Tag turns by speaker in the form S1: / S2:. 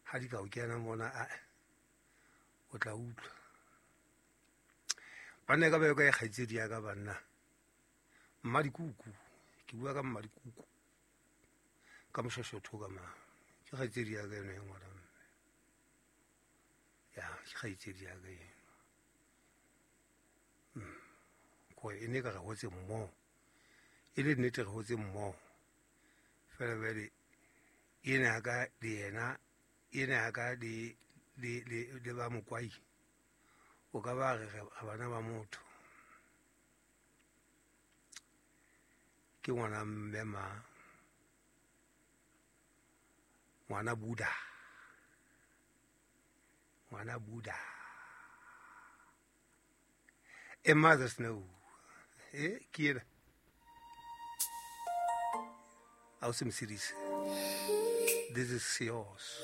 S1: Ha di ka o kena mona, a o tla utlwa. Banna e ka ba ka e kgaitsedi ya ka banna. Mmadikuku, ke bua ka mmadikuku. Ka moshashotho ka mang. Ke kgaitsedi ya ka eno e ngwana mme. Ya, ke kgaitsedi ya ka eno. Ko e ne ka re hotse mmoho. E le nnete re hotse mmoho. Fela jwale ena ka le yena, ena ka le le le le ba mokwai. O ka ba re re bana ba motho. Ke ngwana mme ma. Ngwana Buddha. Ngwana Buddha. A mother's no. Ke ena. Ausi Mosirisi. This is yours.